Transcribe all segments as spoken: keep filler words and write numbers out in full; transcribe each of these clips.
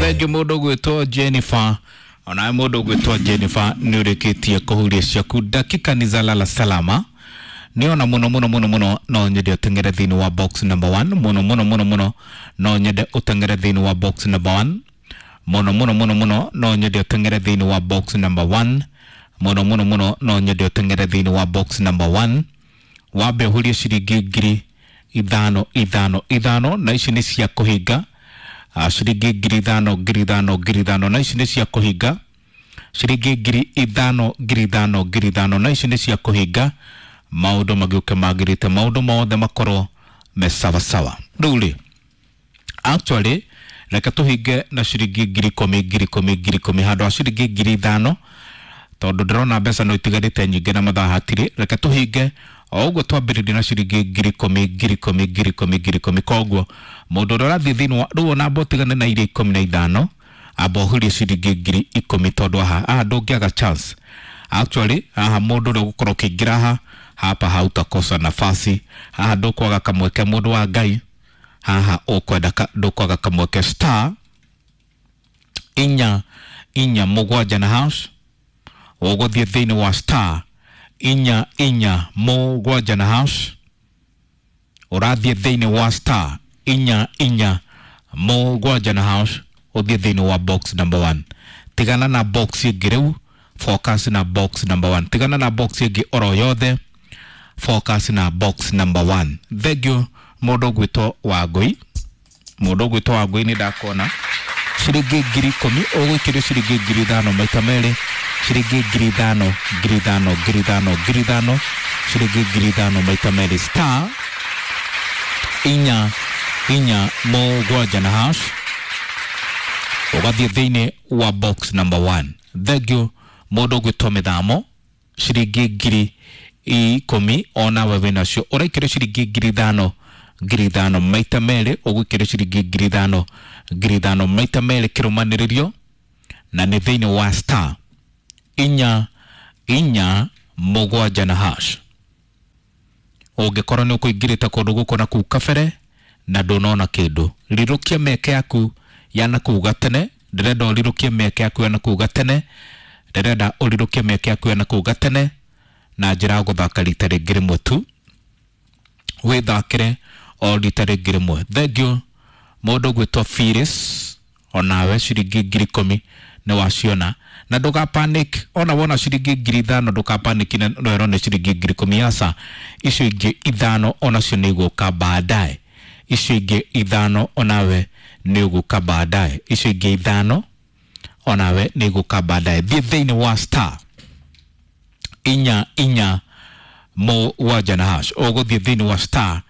Thengiũ mũndũ ũgwĩtwo Jennifer. Onawe mũndũ ũgwĩtwo Jennifer nĩ ũrĩkĩtie kũhuria ciaku dakika ni za lala salama. Nĩona mũno mũno mũno mũno no nyende ũteng'ere thĩinĩ wa box number one. Mũno mũno mũno mũno no nyende ũteng'ere thĩinĩ wa box number one. Mũno mũno mũno mũno no nyende ũteng'ere thĩinĩ wa box number one. Mũno mũno mũno no nyende ũteng'ere thĩinĩ wa box number one. Wambe ũhurie ciringi ngiri ithano ithano ithano, na ici nĩ cia kũhinga. Ah, ciringi ngiri ithano ngiri ithano ngiri ithano, na ici nĩ cia kũhinga. Ciringi ngiri ithano ngiri ithano ngiri ithano, na ici nĩ cia kũhinga. Maũndũ magĩũke magĩrĩte, maũndũ mothe makorwo me sawasawa. Rĩu rĩ, actually reke tũhinge na ciringi ngiri ikũmi ngiri ikũmi ngiri ikũmi handũ ha ciringi ngiri ithano, tondũ ndĩrona mbeca no itigarĩte nyingĩ na mathaa hatirĩ. Reke tũhinge o ũguo twambĩrĩrie na ciringi ngiri ikũmi ngiri ikũmi ngiri ikũmi ngiri ikũmi. Koguo mũndũ ũrĩa ũrathiĩ thĩinĩ wa rĩu ona amba ũtigane na iria ikũmi na ithano, amba ũhurie ciringi ngiri ikũmi, tondũ haha haha ndũngĩaga chance. Actually haha mũndũ ũrĩa ũgũkorwo ũkĩingĩra haha hapa hautakosa nafasi, haha ndũkwaga kamweke, mũndũ wa Ngai, haha ũkwenda ka- ndũkwaga kamweke. Star inya inya mũgwanja na hash, ũgũthiĩ thĩinĩ wa star inya inya mũgwanja na hash, ũrathiĩ thĩinĩ wa star inya inya mũgwanja na hash, ũthiĩ thĩinĩ wa box number one. Tigana na box ĩngĩ rĩu, focus na box number one. Tigana na box ĩngĩ oro yothe, focus na box number one. Thengiũ mũndũ ũgwĩtwo Wangũi. Mũndũ ũgwĩtwo Wangũi nĩ ndakona ciringi ngiri ikũmi, ũgũikĩrio ciringi ngiri ithano maita merĩ, ciringi ngiri ithano ngiri ithano ngiri ithano ngiri ithano, ciringi ngiri ithano maita merĩ. Star inya inya mũgwanja na hash, ũgathiĩ thĩinĩ wa box number one. Thengiũ mũndũ ũgwĩtwo Mĩthamo, ciringi ngiri ikũmi onawe wĩnacio, ũraikĩrio ciringi ngiri ithano ngiri ithano maita merĩ, ũgũikĩrio ciringi ngiri ithano ngiri ithano maita merĩ kĩrũmanĩrĩrio, na nĩ thĩinĩ wa star inya inya mũgwanja na hash. Ũngĩkorwo nĩ ũkũingĩrĩte kũndũ gũkũ na kũu kabere na ndũnona kĩndũ, rirũkia mĩeke yaku ya nakũu gatene. Ndĩrenda ũrirũkie mĩeke yaku ya nakũu gatene, ndĩrenda ũrirũkie mĩeke yaku ya nakũu gatene na njĩra ya gũthaka rita rĩngĩ rĩmwe tu, wĩthakĩre o rita rĩngĩ rĩmwe. Thengiũ mũndũ ũgwĩtwo Phyllis, onawe ciringi ngiri ikũmi nĩ waciona, na ndũga panic. Ona wona ciringi ngiri ithano ndũka panic na no nĩ ciringi ngiri ikũmi, aca, icio ingĩ ithano onacio nĩ igũka baadaye. Icio ingĩ ithano onawe nĩ ũgũka baadaye, icio ingĩ ithano onawe nĩ igũka baadaye. Thiĩ thĩinĩ wa star inya inya mũgwanja na hash, ũgũthiĩ thĩinĩ wa star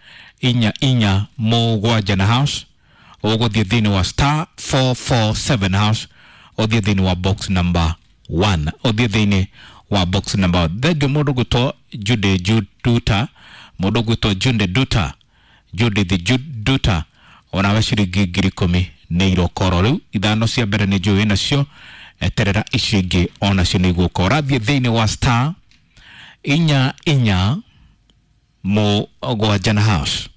inya inya mũgwanja na hash, ũgũthiĩ thĩinĩ wa star four four seven hash, ũthiĩ thĩinĩ wa box number one, ũthiĩ thĩinĩ wa box number one. Thengiũ mũndũ ũgwĩtwo Jude Duta, mũndũ ũgwĩtwo Jude Duta, Judith Duta, onawe ciringi ngiri ikũmi nĩ irokoro. Rĩu ithano cia mbere nĩ njũĩ nacio, eterera icio ingĩ onacio nĩ igũka. Ũrathiĩ thĩinĩ wa star inya inya mũgwanja na hash,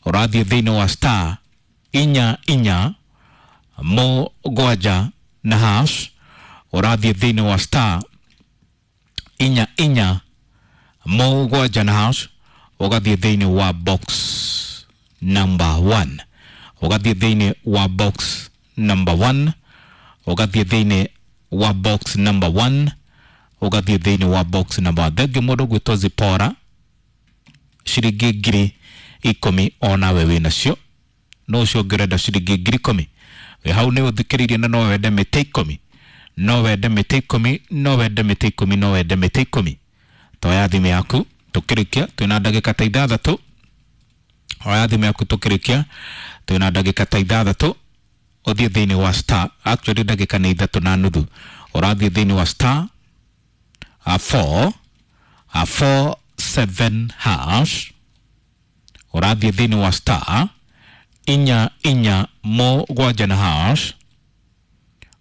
ũrathiĩ thĩinĩ wa star inya inya mũgwanja na hash, ũrathiĩ thĩinĩ wa star inya inya mũgwanja na hash, ũgathiĩ thĩinĩ wa box number one, ũgathiĩ thĩinĩ wa box number one, ũgathiĩ thĩinĩ wa box number one, ũgathiĩ thĩinĩ wa box number one. Thengiũ mũndũ ũgwĩtwo Zipora, ciringi ngiri ikũmi onawe wĩnacio. No ũcio ũngĩ ũrenda ciringi ngiri ikũmi wĩ hau nĩ ũthikĩrĩirie, na no wende mĩtĩ ikũmi, no wende mĩtĩ ikũmi, no wende mĩtĩ ikũmi, no wende mĩtĩ ikũmi, toya thimũ yaku tũkĩrĩkia, twĩna ndagĩka ta ithathatũ. Oya thimũ yaku tũkĩrĩkia, twĩna ndagĩka ta ithathatũ. Ũthiĩ thĩinĩ wa star, actually ndagĩka nĩ ithatũ na nuthu. Ũrathiĩ thĩinĩ wa star uh, four uh, four seven hash, ũrathiĩ thĩinĩ wa star inya inya mũgwanja na hash,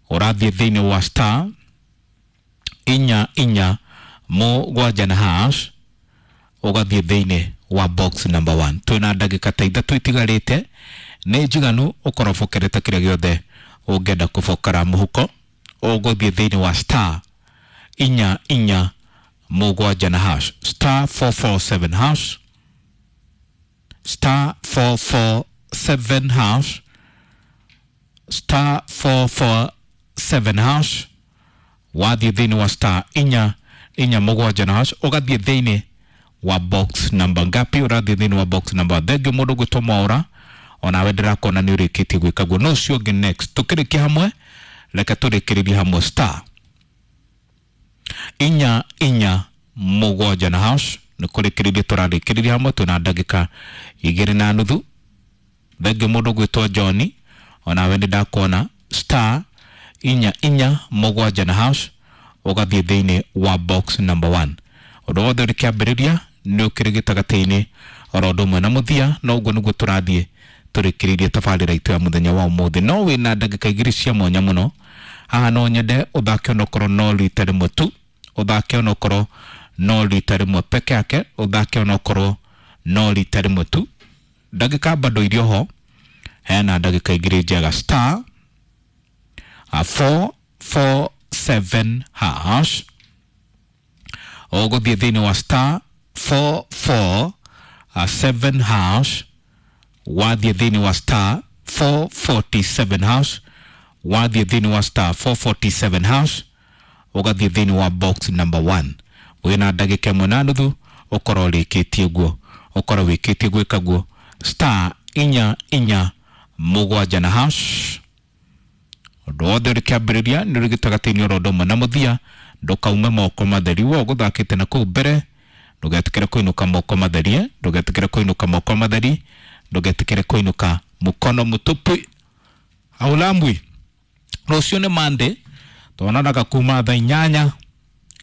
ũrathiĩ thĩinĩ wa star inya inya mũgwanja na hash, ũgathiĩ thĩinĩ wa box number one. Twĩna ndagĩka ta ithatũ itigarĩte, nĩ njiganu ũkorobokerete kĩrĩa gĩothe Ũngĩenda kũbokera mũhuko ũgũthiĩ thĩinĩ wa star inya inya mũgwanja na hash, star four four seven hash, star four four seven hash, star four four seven hash. Wathiĩ thĩinĩ wa star inya inya mũgwanja na hash, ũgathiĩ thĩinĩ wa box number ngapi? Ũrathiĩ thĩinĩ wa box number. Thengiũ mũndũ gwĩtwo Mwaũra, onawe ndĩrakona nĩ ũrĩkĩtie gwĩka guo. No ũcio ũngĩ next tũkĩrĩkia hamwe, reke tũrĩkĩrĩrie hamwe star inya inya mũgwanja na hash. Nĩ kũrĩkĩrĩria tũrarĩkĩrĩria hamwe, twĩna ndagĩka igĩrĩ na nuthu. Thengiũ mũndũ gwĩtwo John, onawe nĩ ndakuona star inya inya mũgwanja na hash, ũgathiĩ thĩinĩ wa box number one. Ũndũ wothe ũrĩ kĩambĩrĩria nĩ ũkĩrĩ gĩtagatĩ-inĩ oro ũndũ ũmwe na mũthia, no ũguo nĩguo tũrathiĩ tũrĩkĩrĩirie tabarĩra itũ ya mũthenya wa ũmũthĩ. No wĩna ndagĩka igĩrĩ cia mwanya mũno haha, no nyende ũthake onokorwo no rita rĩmwe tu, ũthake onokorwo no rita rĩmwe peke yake, ũthake onokorwo no rita rĩmwe tu. Ndagĩka bado irio ho, hena ndagĩka igĩrĩ njega. Star four four seven hash, ũgũthiĩ thĩinĩ wa star four four seven hash, wathiĩ thĩinĩ wa star four forty seven hash, wathiĩ thĩinĩ wa star four forty seven hash, ũgathiĩ thĩinĩ wa box number one. Wĩna ndagĩka ĩmwe na nuthu ũkorwo ũrĩkĩtie guo, ũkorwo wĩkĩtie gwĩka guo star inya inya mũgwanja na hash. Ũndũ wothe ũrĩ kĩambĩrĩria nĩ ũrĩ gĩtagatĩ-inĩ oro ũndũ ũmwe na mũthia, ndũkaume moko matheri. We ũgũthakĩte na kũu mbere, ndũgetĩkĩre kũinũka moko matherie, ndũgetĩkĩre kũinũka moko matheri, ndũgetĩkĩre kũinũka mũkono mũtupu aulambwi. Rũciũ nĩ Monday, tuonanaga kuma thaa inyanya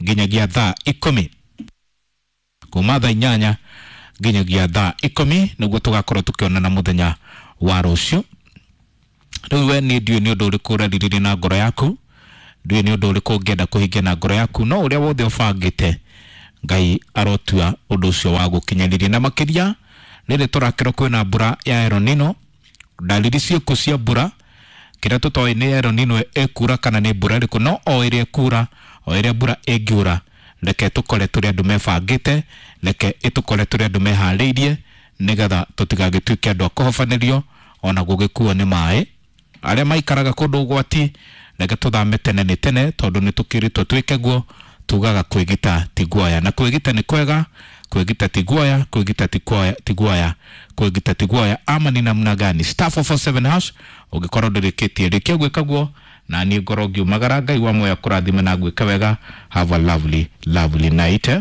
nginyagia thaa ikũmi, kuma thaa inyanya nginyagia thaa ikũmi nĩguo tũgakorwo tũkĩonana mũthenya wa rũciũ. Rĩu we niĩ ndiũĩ nĩ ũndũ ũrĩkũ ũrerirĩria na ngoro yaku, ndiũĩ nĩ ũndũ ũrĩkũ ũngĩenda kũhingia na ngoro yaku, no ũrĩa wothe ũbangĩte Ngai arotua ũndũ ũcio wa gũkinyanĩria. Na makĩria rĩrĩ tũrakĩrwo kwĩna mbura ya El Nino, ndariri ciĩkũ cia mbura, kĩrĩa tũtoĩ nĩ El Nino ĩkura kana nĩ mbura ĩrĩkũ, no o ĩrĩa ĩkura, o ĩrĩa mbura ĩngiura, reke tũkore tũrĩ andũ mebangĩte, reke ĩtũkore tũrĩ andũ meharĩirie, nĩgetha tũtigagĩtuĩke andũ a kũhobanĩrio ona gũgĩkuo nĩ maĩ. Arĩa maikaraga kũndũ ũgwati, reke tũthame tene nĩ tene, tondũ nĩ tũkĩrĩtwo twĩke guo. Tugaga kwĩgita ti guoya, na kwĩgita nĩ kwega, kwĩgita ti guoya, kwĩgita ti guoya, ti guoya, kwĩgita ti guoya. Ama ni namna gani? Star four four seven hash, ũngĩkorwo ndũrĩkĩtie rĩkia gwĩka guo, na niĩ ngorwo ngiumagara. Ngai wa muoyo akũrathime na gwĩka wega. Have a lovely lovely night, eh?